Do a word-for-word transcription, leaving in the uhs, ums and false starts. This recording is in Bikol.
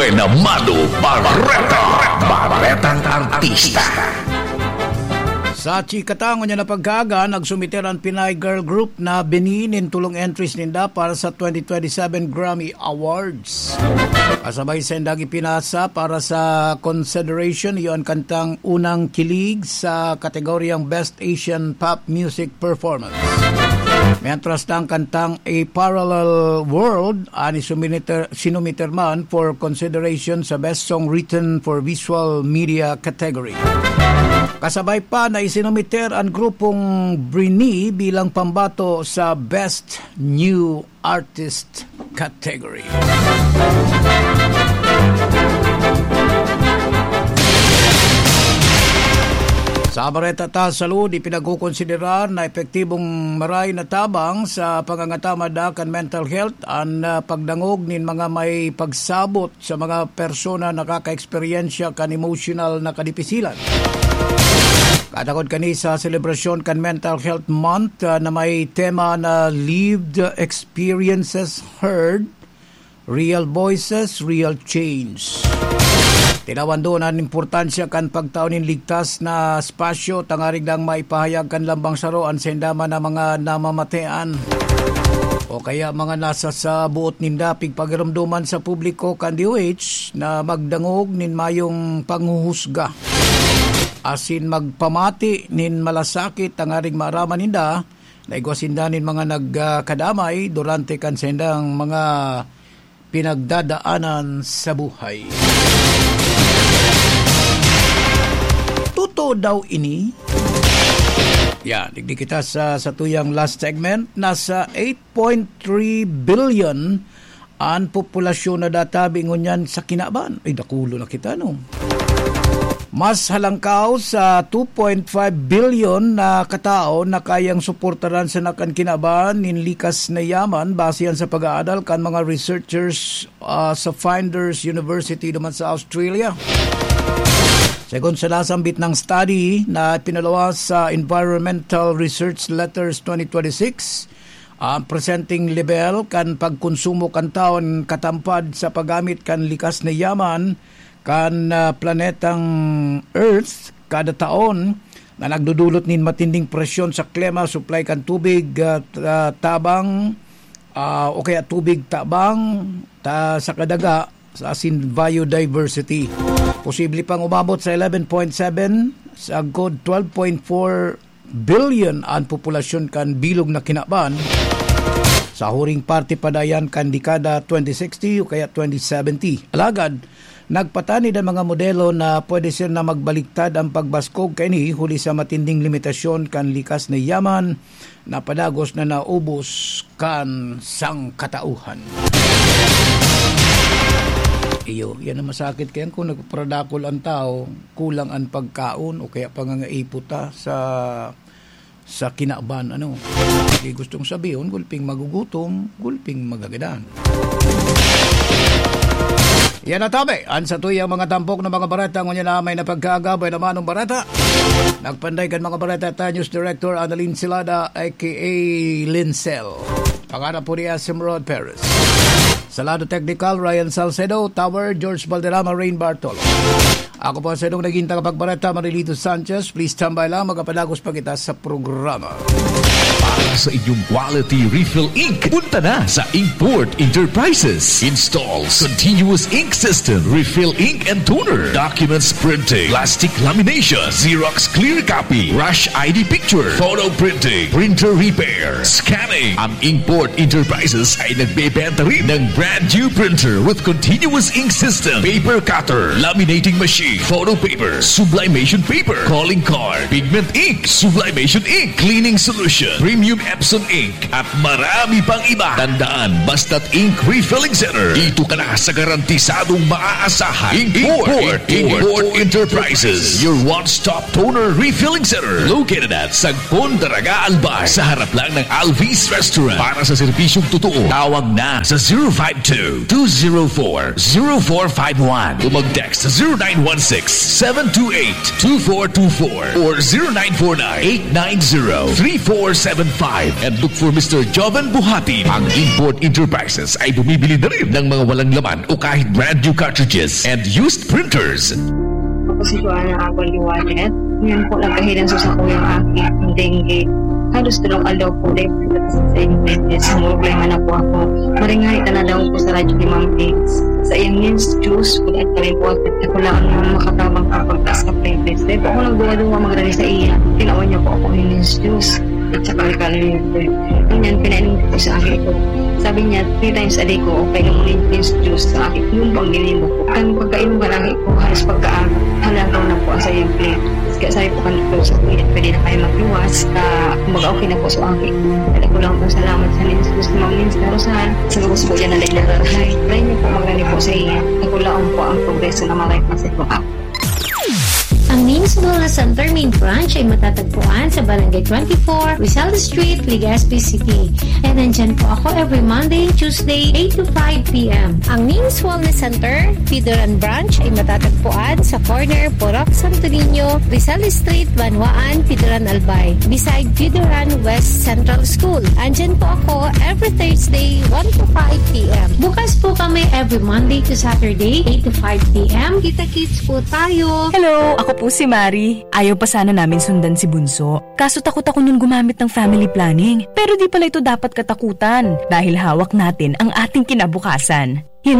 Namado Barreta, Barretang Artista. Sa chika ta ngunyan na pagkaaga, nagsumiter an Pinay girl group na Bini nin tolong entries ninda para sa twenty twenty-seven Grammy Awards. Kasabay sa indang ipinasa para sa consideration, iyo an kantang Unang Kilig sa kategoryang Best Asian Pop Music Performance. Mientras na ang kantang A Parallel World an isinumiter, sinumiter man for consideration sa Best Song Written for Visual Media category. Kasabay pa na isinumiter an grupong Brini bilang pambato sa Best New Artist category. Sa bareta ta sa salud, ipinagkukonsiderar na epektibong maray na tabang sa pangangatamada kan mental health an, ah, pagdangog nin mga may pagsabot sa mga persona nakakaeksperyensya kan emosyonal na kadipisilan. Katakod kani sa selebrasyon kan Mental Health Month, ah, na may tema na Lived Experiences Heard, Real Voices, Real Change. Tinawan duon an importansya kan pagtao nin ligtas na espasyo tangarig dang maipahayag kan lambang saro an sainda man na mga namamatean o kaya mga nasa sa buot ninda pigpagiromdoman sa publiko kan D O H na magdangog nin mayong panghuhusga asin magpamati nin malasakit tangarig maaraman ninda na igwa sinda nin mga nagkadamay durante kan saindang mga pinagdadaanan sa buhay. Totoo daw ini? Yan, digdi kita sa, sa tuyang last segment. Nasa eight point three billion an populasyon na databi ngunyan sa kinaban. Ay, dakulo na kita, no? Mas halangkaw sa two point five billion na katao na kayang suportaran sana kan kinaban nin likas na yaman, base yan sa pag-aadal kan mga researchers, ah, sa Flinders University duman sa Australia. Segun sa nasambit na study na pinaluwas sa Environmental Research Letters twenty twenty-six, ang presenteng lebel kan pagkonsumo kan tawo nin katampad sa paggamit kan likas na yaman kan, ah, planetang Earth kada taon na nagdudulot nin matinding presyon sa klima, supply kan tubig, ah, ta-, tabang, ah, o kaya tubig tabang, ta-, sa kadaga, sa asin biodiversity. Posible pang umabot sa eleven point seven, sagkod twelve point four billion an populasyon kan bilog na kinaban sa huring parte pa dayan kan dekada twenty sixty o kaya twenty seventy. Alagad, nagpatanid an mga modelo na pwede sana magbaliktad an pagbaskog kaini huli sa matinding limitasyon kan likas na yaman na padagos na naubos kan sangkatauhan. Iyo, yan ang masakit. Kaya kung nagpaparadakol ang tao, kulang ang pagkaon o kaya pangangaipot ta sa, sa kinaban, ano. Di gustong sabihon, gulping magugutom, gulping magagadan. Yan na tabi, an satuyang mga tampok na mga bareta, ngunyan na may napagkaagabay na manong bareta. Nagpanday kan mga bareta ta, News Director Annalyn Silada, A K A Lincel. Pangarap po ni Asim Rod Perez. Sa lado technical, Ryan Salcedo, Tower, George Valderrama, Rain Bartolo. Ako po sa inyong naging tagapagbareta, Marilito Sanchez. Please tambay lang, magkapadagos pa kita sa programa. Para sa inyong quality refill ink, punta na sa Inkport Enterprises. Installs continuous ink system, refill ink and toner, documents printing, plastic lamination, Xerox clear copy, rush I D picture, photo printing, printer repair, scanning. Ang Inkport Enterprises ay nagbebenta rin ng brand new printer with continuous ink system, paper cutter, laminating machine, photo paper, sublimation paper, calling card, pigment ink, sublimation ink, cleaning solution, premium Epson ink, at marami pang iba. Tandaan, basta't ink refilling center, dito ka na sa garantisadong maaasahan. Inkport, Inkport Enterprises, your one-stop toner refilling center, located at Sagpon, Daraga, Albay, sa harap lang ng Alvis Restaurant. Para sa serbisyong totoo, tawag na sa zero five two, two zero four, zero four five one o mag-text sa zero nine one six, seven two eight, two four two four or zero nine four nine, eight nine zero, three four seven Five and look for Mister Joven Buhati. Ang Import Enterprises ay bumibili na rin ng mga walang laman o kahit brand new cartridges and used printers. Ako si Joanna Abon Liwanet. Ngayon po, nagkahilan sa sakuyang aki, ang dengue. Halos tulong aldaw po, dahil po sa dengue, sa problema na po ako. Maringay na daw po sa radyo ni Ma'am Vince. Sa iyang Mints Juice, kung at kami po at ako lang ang makatabang kapag taas ng platelets. Dahil po ako nagduwa-duwa magrani sa iya. Tinawan niya po ako ng Mints Juice. At saka alkaline water. Ganyan, pinainom ko po sa aki ko. Sabi niya, three times a day ko, painom mo yung juice sa aki. Yung pang ginimo ko. Ang pagkainom ng aki ko, halos pagka halagaw na po sa iyong plate. Kaya sabi po kanito sa kuya, pwede na kayo magluwas. Ka, kumbaga okay na po sa aki. Kaya ko lang po salamat sa Nins Juice, Ma'am Nins Rosal. Sa mga po dyan na nagdadarahay. Try niyo po, magrani po sa iya. Ako lang po ang progreso na malay kasi po ako. Ang Min's Wellness Center Main Branch ay matatagpuan sa Barangay twenty-four, Rizal Street, Legazpi City. And nandyan po ako every Monday, Tuesday, eight to five p.m. Ang Min's Wellness Center, Pidoran Branch ay matatagpuan sa corner Purok Santo Niño, Rizal Street, Banwaan, Pidoran Albay, beside Pidoran West Central School. Andyan po ako every Thursday, one to five p.m. Bukas po kami every Monday to Saturday, eight to five p.m. Kita-kits po tayo. Hello, ako po si Mari. Ayaw pa sana namin sundan si Bunso. Kaso takot ako nun gumamit ng family planning. Pero di pala ito dapat katakutan dahil hawak natin ang ating kinabukasan.